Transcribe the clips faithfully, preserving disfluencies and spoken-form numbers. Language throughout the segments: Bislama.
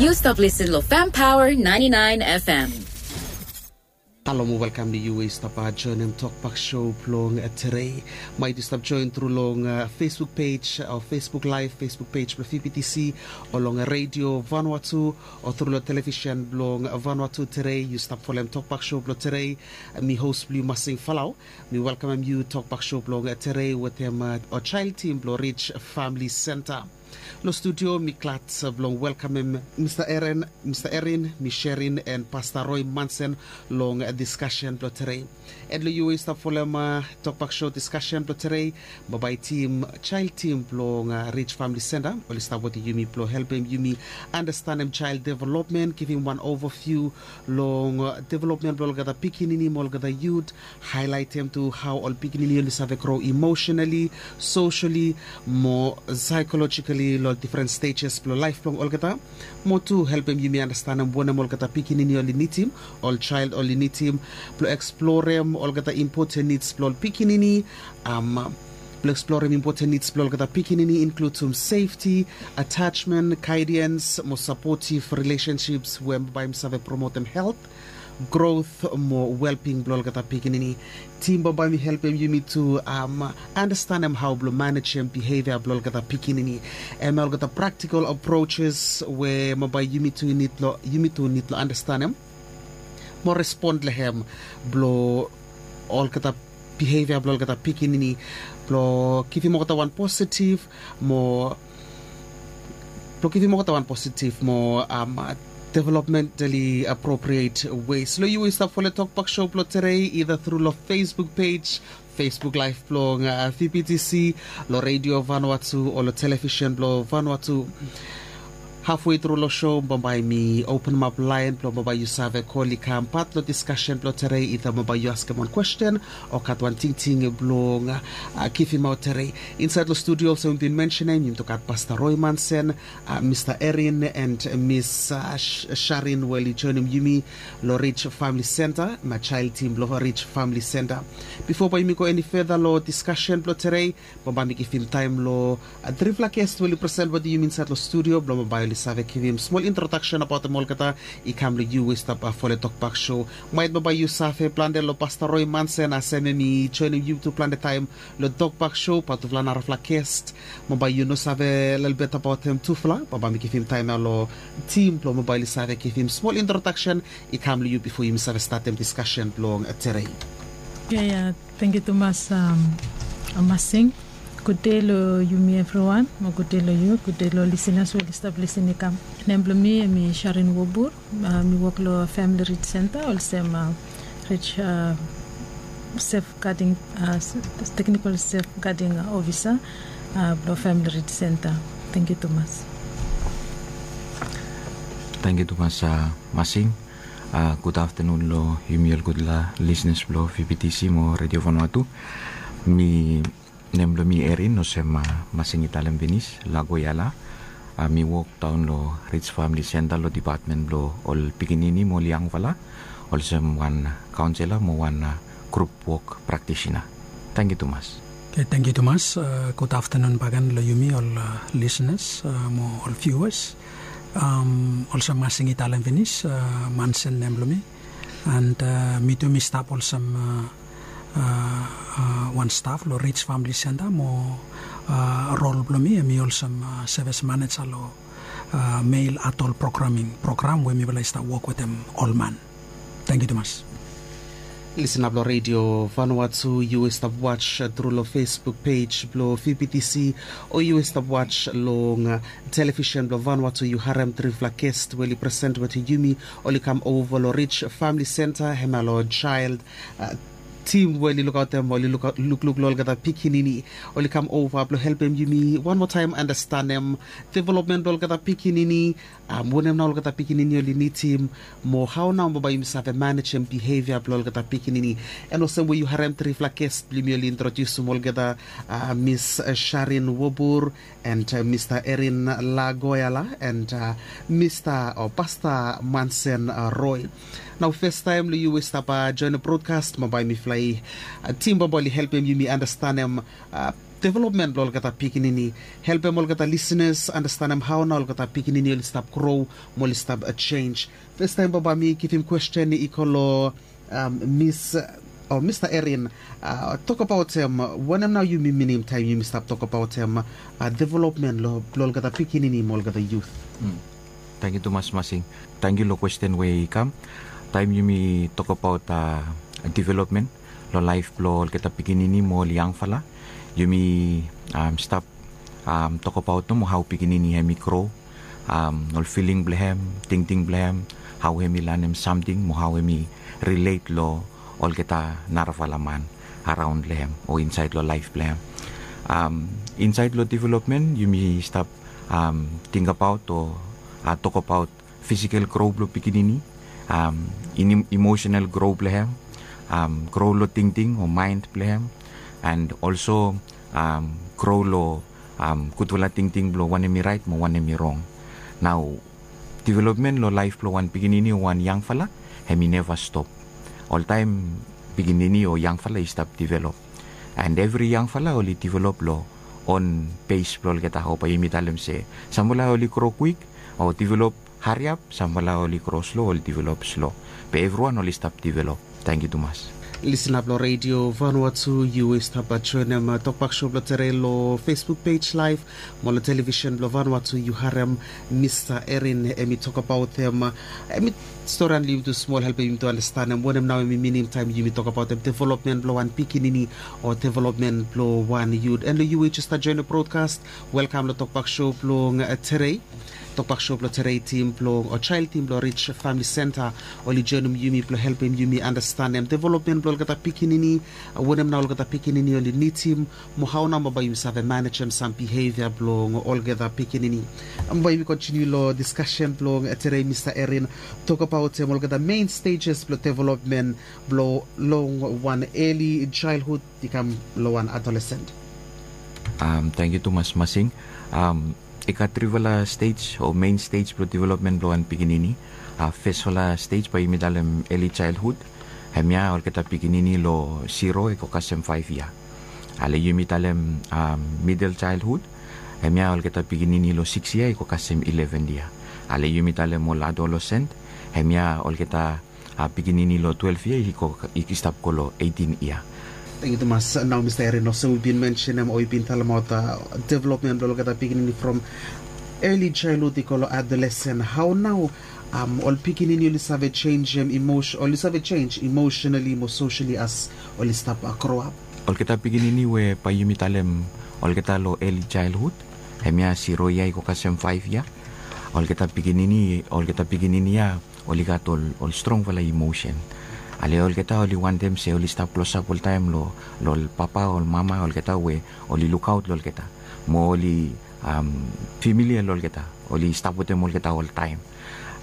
Yu stap listen lo Fam Power ninety-nine F M. Halo mo welkam ni yu we yu stap joenem Tokbak Show blong tere. Maet yu stap joen tru long Facebook page o Facebook Live, Facebook page blong V B T C, o long Radio Vanuatu, o tru long televisen blong Vanuatu tere. Yu stap folem Tokbak Show blong tere. Mi hos blong yu Masing Falau. Mi welkamem yu Tokbak Show blong tere wetem o jael tim blong Rich Famili Senta. Long studio mi glad blong welkamem Mista Erin, Mista Erin, Mis Sherin, and Pasta Roy Mansen long diskasen blong tere. And long yu we yu stap folem Tokbak Show diskasen blong tere, bambae tim, jael tim blong Rich Famili Senta oli stap wetem yumi blong helpem yumi andastanem jael developmen, givim wan overview long developmen blong olgeta pikinini mo olgeta yut, haelaetem tu hao ol pikinini oli save gro emosenali, sosali, mo saekolojikali long difren stejes blong laef blong olgeta. Mo tu helpem yumi andastanem wanem olgeta pikinini oli nidim, ol jael oli nidim, blong eksplorem olgeta impoten nids blong ol pikinini, blong eksplorem impoten nids blong olgeta pikinini, inkludim sefti, atajmen, gaediens mo sapotiv rilesenships we bambae mi save promotem helt, grot mo welbing blong olgeta pikinini. Tim bambae mi helpem yumi tu andastanem hao blong manejem bihevia blong olgeta pikinini. Hemia olgeta praktikol aproses we bambae yumi tu nid long andastanem mo respon long hem blong olgeta bihevia blong olgeta pikinini, blong givim olgeta wan positiv mo blong givim olgeta wan positiv mo developmentali apropriet wes. Long yu we yu stap folem Tokbak Show blong tere, ida tru long Facebook page, Facebook Live blong V B T C, long Radio Vanuatu o long televisen blong Vanuatu. Hafwe tru long show bambae mi openemap laen blong bambae yu save kol i kam pat long diskasen blong tere, ida bambae yu askem wan kwesten o gat wan tingting blong givimaot tere. Insaed long studio olsem mi bin mensenem, yumi tu gat Pasta Roy Mansen, Mista Erin and Mis Sharin we oli joenem yumi long Rich Famili Senta, na jael tim blong Rich Famili Senta. Bifo bae yumi go eni feda long diskasen blong tere, bambae mi givim taem long trifala ges we oli present wetem yumi insaed long studio blong bambae oli save givim smol introdaksen abaotem olgeta i kam long yu we yu stap folem Tokbak Show. Maet bambae yu save plante long Pasta Roy Mansen, a sem hemi joenem yu tu plante taem long Tokbak Show, bae tufala narafala ges bambae yu no save lelebet abaotem tufala. Bambae mi givim taem ya long tim blong bambae oli save givim smol introdaksen i kam long yu bifo yumi save statem diskasen blong tere. Ia, ia, tangkiu tumas, Masing. Gudei long yumi evriwan, mo gudei long yu, gudei long lisenas we oli stap lisin i kam. Nem blong mi hemi Sharin Wobur. Mi wok long Famili Rich Senta olsem Rich Safeguarding, Teknikol Safeguarding Ofisa blong Famili Rich Senta. Tangkiu tumas. Tangkiu tumas, Masing. Gud aftanun long yumi ol gudfala lisenas blong V B T C mo Radio Vanuatu. Mi Nem blong mi Erin, olsem Masing i talem finis, Lagoyala. Mi wok daon long Rich Famili Senta long dipatmen blong ol pikinini mo ol yangfala, olsem wan kaonsela mo wan grup wok praktisina. Tangkiu tumas. Oke, tangkiu tumas. Gud aftanun bakegen long yumi ol lisenas mo ol viuas. Olsem Masing i talem finis, Mansen nem blong mi. And mi tu mi stap olsem wan staf long Rich Famili Senta mo rol blong mi hemi olsem sevis maneja long Male Adult Programming program we mifala i stap wok wetem ol man. Tangkiu tumas. Lisena blong Radio Vanuatu, yu we stap was tru long Facebook pej blong V B T C o yu we stap was long televisen blong Vanuatu, yu harem trifala gest we oli present wetem yumi. Oli kam ova long Rich Famili Senta, hemia long jael tim we oli lukaotem, oli lukluk long olgeta pikinini. Oli kam ova blong helpem yumi wan moa taem andastanem developmen blong olgeta pikinini. Wanem nao olgeta pikinini oli nidim, mo hao nao bambae yumi save manejem bihevia blong olgeta pikinini. And olsem we yu harem trifala gest blong yumi oli introdiusim olgeta, Mis Sharin Wobur and Mista Erin Lagoyala and Mista o Pasta Mansen Roy. Nao festaem long yu we stap joen brodkast, mo bae mifala i tim bambae oli helpem yumi andastanem developmen blong olgeta pikinini, helpem olgeta lisenas andastanem hao nao olgeta pikinini oli stap gro mo oli stap jenj. Festaem bambae mi givim kwesten i go long mis o Mista Erin, tokbaotem wanem nao yumi minim taem yumi stap tokbaotem developmen blong olgeta pikinini mo olgeta yut. Tangkiu tumas Masing. Tangkiu long kwesten we i kam. Taem yumi tokbaot developmen long laef blong olgeta pikinini mo ol yangfala, yumi stap tokbaot nomo hao pikinini hem i gro, ol filing blong hem, tingting blong hem, hao hem i lanem samting mo hao hem i rilet long olgeta narafala man araon long hem o insaed long laef blong hem. Insaed long developmen yumi stap tingbaot o tokbaot fisikal gro blong pikinini, imosenal gro blong hem, gro long tingting o maen blong hem, and olso gro long gudfala tingting blong wanem i raet mo wanem i rong. Nao developmen long laef blong wan pikinini o wan yangfala hem i neva stop. Oltaem pikinini o yangfala i stap develop, and evri yangfala oli develop long on pes blong olgeta o bae yumi talem se samfala oli gro kwik o develop hariap, samfala oli gro slo oli develop slo. Be evriwan oli stap develop. Tangkiu tumas. Lisena blong redio Vanuatu, yu we stap joenem tokbak sho blong tere long Facebook pej laef mo long televisen blong Vanuatu, yu harem Mista Erin hem i tokbaotem, hem i storian long yumi tu smol, helpem yumi tu andastanem wanem nao hem i minim taem yumi tokbaotem developmen blong wan pikinini o developmen blong wan yut. And long yu we jes stap joenem brodkast, welkam long tokbak sho blong tere. Tokbak sho blong tere, tim blong o jael tim blong Rij Famili Senta oli joenem yumi blong helpem yumi andastanem developmen blong olgeta pikinini, wanem nao olgeta pikinini oli nidim, mo hao nao mo bae yumi save manejem sam bihevia blong olgeta pikinini. Bae yumi kontiniu long diskasen blong tere, Mista Erin, tokbaotem olgeta mein stejes blong developmen blong long wan eli jaelhud i kam long wan adolesen. Tangkiu tumas Masing. I gat trifala stej o mein stej blong developmen blong wan pikinini. Fesfala stej bae yumi talem eli jaelhud, hemia olgeta pikinini long ziro i go kasem faef yia. Ale yumi talem midel jaelhud, hemia olgeta pikinini long sikis yia i go kasem ileven yia. Ale yumi talem ol adolesen, hemia olgeta pikinini long twelef yia i stap go long eitin yia. Tangkiu tumas. Nao Mista Erin, olsem yu bin mensenem o yu bin talemaot developmen blong olgeta pikinini from eli jaelhud i go long adolesen, hao nao ol pikinini oli save jenjem, oli save jenj imosenali mo sosali as oli stap groap? Olgeta pikinini we bae yumi talem olgeta long eli jaelhud, hemia ziro yia i go kasem faef yia. Olgeta pikinini, olgeta pikinini ya oli gat ol strongfala imosen. Ale olgeta oli wantem se oli stap klosap oltaem long ol papa, ol mama olgeta we oli lukaot long olgeta mo oli femilia long olgeta, oli stap wetem olgeta oltaem.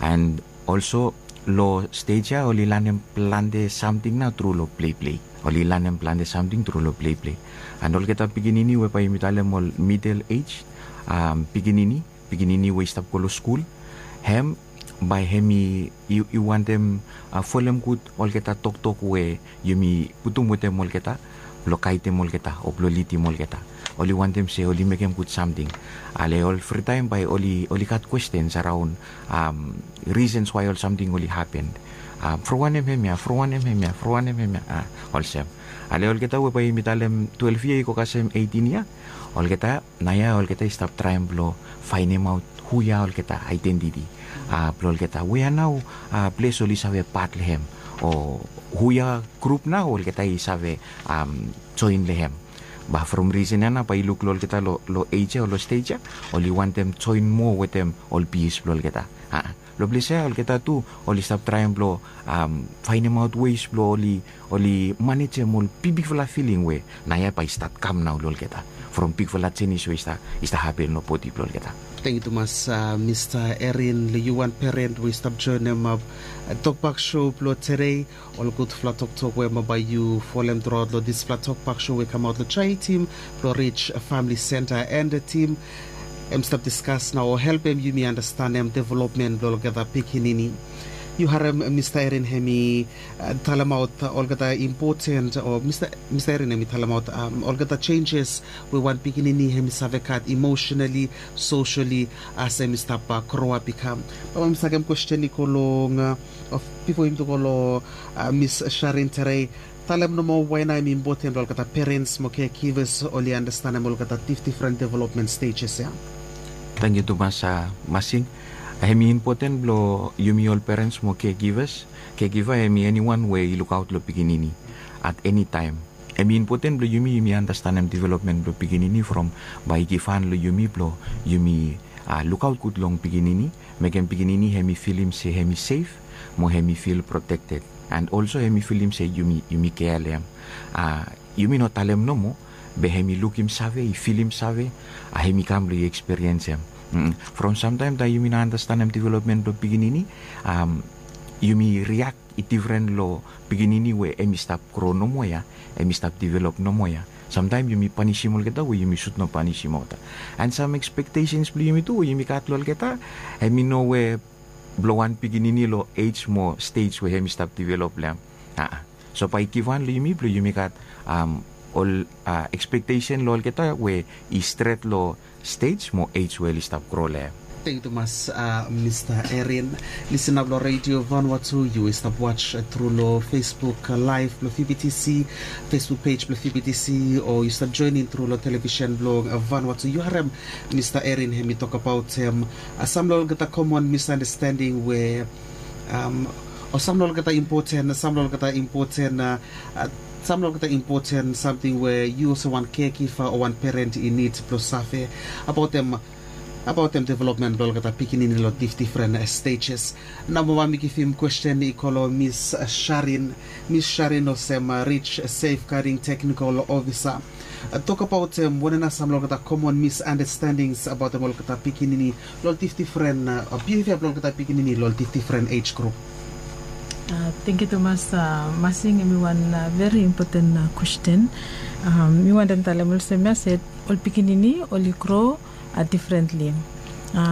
And olso long stej ya oli lanem plante samting nao tru long pleplei. Oli lanem plante samting tru long pleplei. And olgeta pikinini we bae yumi talem ol midel ej pikinini, pikinini we i stap go long skul, hem bae hem i wantem folem gud olgeta toktok we yumi putum wetem olgeta blong gaedem olgeta o blong lidim olgeta. Oli wantem se oli mekem gud samting. Ale ol fritaem bae oli gat kwestens araon risens wae ol samting oli hapen. From wanem hemia, from wanem hemia, from wanem hemia, olsem. Ale olgeta we bae yumi talem twelef yia i go kasem eitin yia, olgeta naoia olgeta i stap traem blong faenemaot hu ya olgeta aedentiti blong olgeta, wea nao ples oli save pat long hem o hu ya grup nao olgeta i save joen long hem. Ba from risen ya nao bae yu luk long olgeta long ej ya o long stej ya, oli wantem joen moa wetem ol pias blong olgeta. Long ples ya olgeta tu oli stap traem blong faenemaot wes blong oli manejem ol bigbigfala filing we naoia bae i stat kam nao long olgeta from bigfala jenis we i stap hapen long bodi blong olgeta. Tangkiu tumas Mista Erin. Long yu wan peren we i stap joenem tokbak sho blong tere, ol gudfala toktok we bae yu folem truaot long disfala tokbak sho we i kamaot long jael tim blong Rij Famili Senta and tim hem stap diskas nao o helpem yumi andastanem developmen blong olgeta pikinini. Yu harem mista Erin hem i talemaot olgeta impoten o mista Erin hem i talemaot olgeta senjes we wan pikinini hem i save gat emosenali, sosali, as hem i stap groap i kam. Baba mi sakem kwesten i go long bifo yumi tu go long mis Sharin tere. Talem nomo waena hem i impoten blong olgeta perens mo kekivas oli anastenem olgeta difdifren developmen stejes ya. Tangkiu tumas masing. Hem i impoten blong yumi ol perens mo kekivas. Kekiva hem i eniwan we i lukaot long pikinini at eni taem. Hem i impoten blong yumi yumi anastenem developmen blong pikinini from bae i givhan long yumi blong yumi lukaot gud long pikinini, mekem pikinini hem i filim se hem i sef mo hem i fil protekted. And olso hem i filim se yumi kea long hem. Yumi no talem nomo, be hem i lukim save, i filim save, hem i kam blong i ekspiriens hem. From samtaem taem yumi no anastenem developmen blong pikinini, yumi riak i difren long pikinini we hem i stap gro nomo ya, hem i stap develop nomo ya. Samtaem yumi panisim olgeta we yumi sud no panisim olgeta. And sam ekspektesens blong yumi tu we yumi gat long olgeta, hem i no we blong wan pikinini long ej mo stej we hem i stap develop long hem. Aa. So bae i givhan long yumi blong yumi gat ol ekspektesen long olgeta we i stret long stej mo ej we oli stap gro long hem. Tangkiu tumas mista Erin. Lisin nao long redio Vanuatu, yu i stap was tru long Facebook laev blong VBTC, Facebook pej blong VBTC, o yu stap joenem tru long televisen blong Vanuatu. Yu harem mista Erin hem i tokbaot hem sam long olgeta komon misandastending we o sam long olgeta impoten, sam long olgeta impoten, sam long olgeta impoten samting we yu olsem wan kekiva o wan peren i nid blong save abaotem developmen blong olgeta pikinini long difdifren stejes. Nao mo bae mi givim kwesten i go long mis Sharin. Mis Sharin olsem rij sefgading teknikol ofisa, tokbaot wanem nao sam long olgeta komon misandastendings abaotem olgeta pikinini long difdifren bihevia blong olgeta pikinini long difdifren ej grup. Tangkiu tumas masing, hem i wan veri impoten kwesten. Mi wantem talem olsem ya se ol pikinini oli gro difrentli.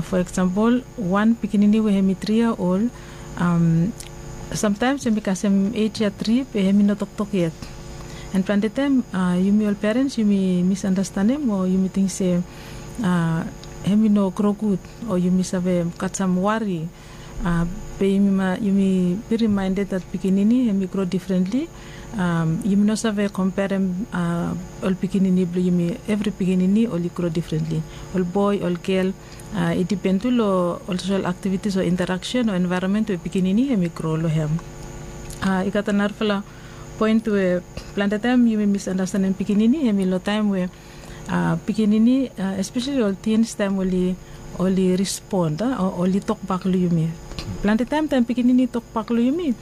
Fo eksampol, wan pikinini we hem i tri yia ol, samtaems hem i kasem ej ya tri be hem i no toktok yet. And plante taem yumi ol perens yumi misandastanem o yumi ting se hem i no gro gud o yumi save gat sam wari. Be yumi veri maended dat pikinini hem i gro difrentli. Yumi no save komperem ol pikinini blong yumi. Evri pikinini oli gro difrentli, ol boe ol gel. I dipen tu long ol sosel aktivitis o interaksen o envaeronmen we pikinini hem i gro long hem. I gat narafala poen we plante taem yumi misandastanem pikinini hem i long taem we pikinini, espeseli ol tins, taem oli rispon o oli tokbak long yumi. Plante taem taem pikinini i tokbak long yumi,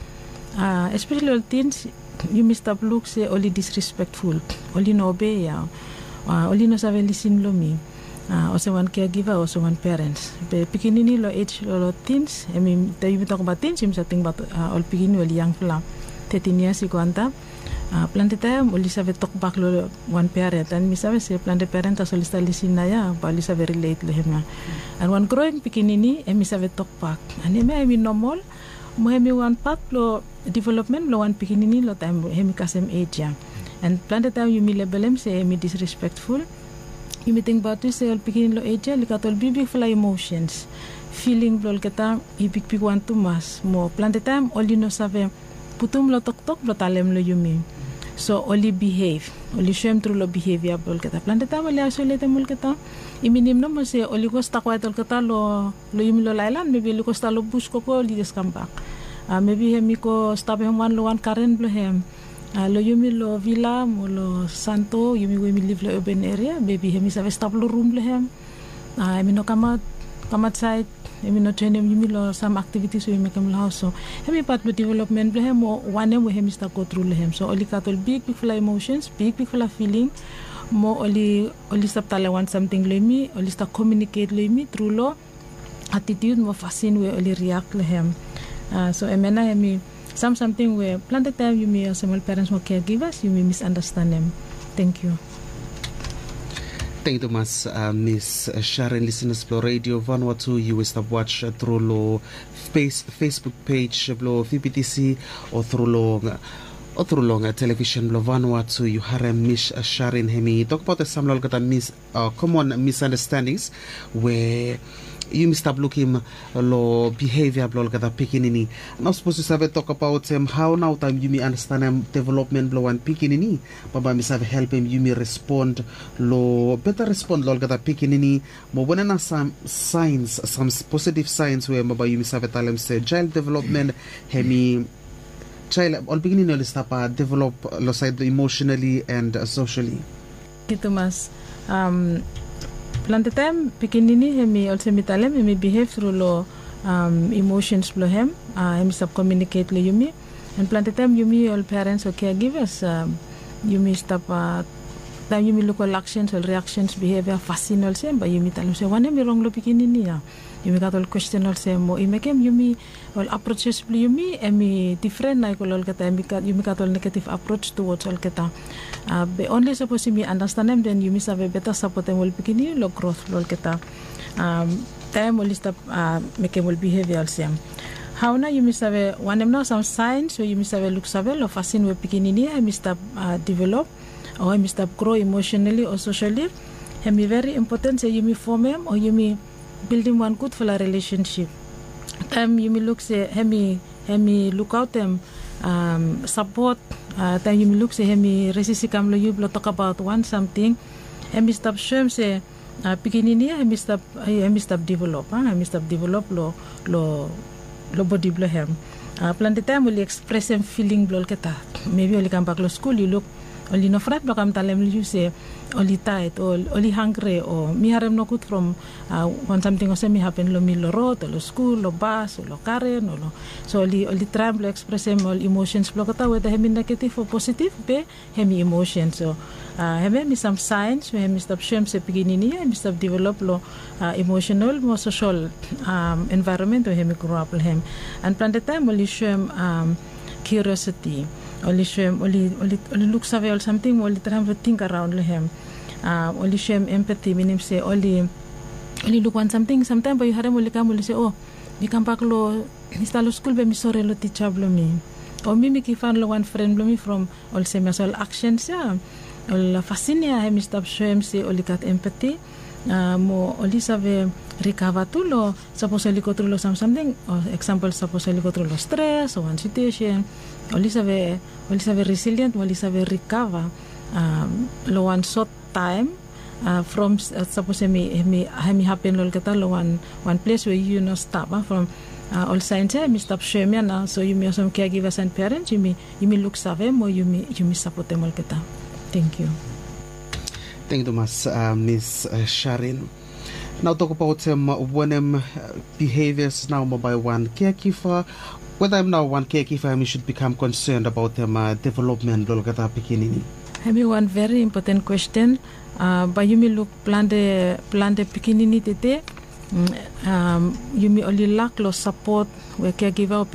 espeseli ol tins, yumi stap luk se oli disrespekful, oli no obei ya, oli no save lisin long mi olsem wan keagiva olsem wan perens. Be pikinini long ej long tins, hem i taem yumi tokbaot tins yumi save tingbaot ol pikinini oli yangfala, tetin yias i go antap. Plante taem oli save tokbak long wan peren, and mi save se plante peren tasol oli stap lisin naoia bae oli save rilet long hem ya. And wan groing pikinini hem i save tokbak, and hemia hem i nomol mo hem i wan pat blong developmen blong wan pikinini long taem hem i kasem ej ya. And plante taem yumi lebelem se hem i disrespekful. Yumi tingbaot tu se ol pikinini long ej ya oli gat ol bigbigfala imosens, filing blong olgeta i bigbigwan tumas mo plante taem oli no save putum long toktok blong talem long yumi. So oli bihev, oli soem tru long bihevia blong olgeta. Plante taem oli aisoletem olgeta. I minim nomo se oli go stap kwaet olgeta long yumi long laelan, mebi oli go stap long bus gogo oli jes kambak. Mebi hem i go stap hem wan long wan garen blong hem. Long yumi long vila mo long santo, yumi we yumi liv long open eria, mebi hem i save stap long rum blong hem. Hem i no kamaot, kamaot saed, hem i no joenem yumi long sam aktivitis we yumi mekem long haos. So hem i pat blong developmen blong hem o wanem we hem i stap gotru long hem. So oli gat ol bigbigfala imosens, bigbigfala filing, mo oli stap talem wan samting long yumi, oli stap komiuniket long yumi tru long atitiut mo fasin we oli riak long hem. So hemia nao hem i sam samting we plante taem yumi olsem ol perens mo keagivas yumi misandastanem. Tangkiu. Tangkiu tumas, Miss Sharon. Listeners blong Radio Vanuatu, yu we stap watch tru long Facebook page blong VPTC o tru long o tru long television blong Vanuatu, yu harem Miss Sharon hemi tokbaot sam long olgeta mis komon misunderstandings we yumi stap lukim long behavior blong olgeta pikinini. Nao sapos yu save tokbaot hao nao taem yumi andastanem development blong wan pikinini, bambae mi save helpem yumi respond long beta respond long olgeta pikinini. Mo wanem nao sam signs, sam positive signs we bambae yumi save talem se child development hemi child, ol pikinini oli stap develop long saed blong emotionally and socially. Tangkiu tumas. Plante taem pikinini hemi olsem mi talem hemi behave tru long emotions blong hem. Hemi stap communicate long yumi. And plante taem yumi ol parents o caregivers, yumi stap taem yumi luk ol actions, ol reactions, behavior, fasin olsem, bae yumi talem se wanem i rong long pikinini ya. Yumi gat ol question olsem, mo i mekem yumi ol approaches blong yumi hemi different nao i go long olgeta, yumi gat ol negative approach towards olgeta. Be only sapos yumi andastanem, then yumi save beta sapotem ol pikinini long growth blong olgeta taem oli stap mekem ol behavior olsem. Hao nao yumi save, wanem nao sam signs we yumi save luksave long fasin we pikinini ya hemi stap develop o hemi stap grow emotionally o socially? Hemi very important se yumi fomem o yumi bildim wan gudfala relationship. Taem yumi luk se hemi, hemi lukaotem sapot, taem yumi luk se hemi resist i kam long yu blong tokbaot wan samting, hemi stap soem se pikinini ya hemi stap, hemi stap develop, hemi stap develop long, long bodi blong hem. Plante taem oli ekspresem filing blong olgeta. Mebi oli kambak long skul, yu luk oli no fraet blong kam talem long yu se oli taet o oli hangre o mi harem nogud from wan samting olsem i hapen long mi long rod o long skul, long bas o long karen o long. So oli, oli traem blong ekspresem ol emotions blong olgeta, weda hemi negative o positive, be hemi emotion. So hemia hemi sam signs we hemi stap soem se pikinini ya hemi stap develop long emotional mo social environment we hemi grow up long hem. And plante taem oli soem curiosity, oli soem, oli, oli luksave ol samting mo oli traem blong ting araon long hem. Oli soem empathy, minim se oli, oli luk wan samting, samtaem bae yu harem oli kam oli se, o, mi kambak long, mi stap long skul be mi sore long tija blong mi, o mi, mi givhan long wan fren blong mi from olsem ya. So ol actions ya, ol fasin ya hemi stap soem se oli gat empathy. Mo oli save rikava tu long sapos oli gotru long sam samting, o eksampol sapos oli gotru long stres o wan situesen, oli save, oli save resilient mo oli save rikava long wan sot taem from sapos hemi, hemi hapen long olgeta long wan, wan ples we yu no stap. From ol signs ya hemi stap soem ya nao, so yumi olsem caregivers and parents yumi, yumi luksave mo yumi, yumi sapotem olgeta. Tangkiu. Tangkiu tumas, Miss Sharon. Nao tokbaot wanem behaviors nao mo bae wan caregiver, weda hem nao wan caregiver hemi should become concerned abaot development blong olgeta pikinini? Hemi wan very important question. Bae yumi luk plante, plante pikinini tede, yumi oli lak long sapot we caregiver o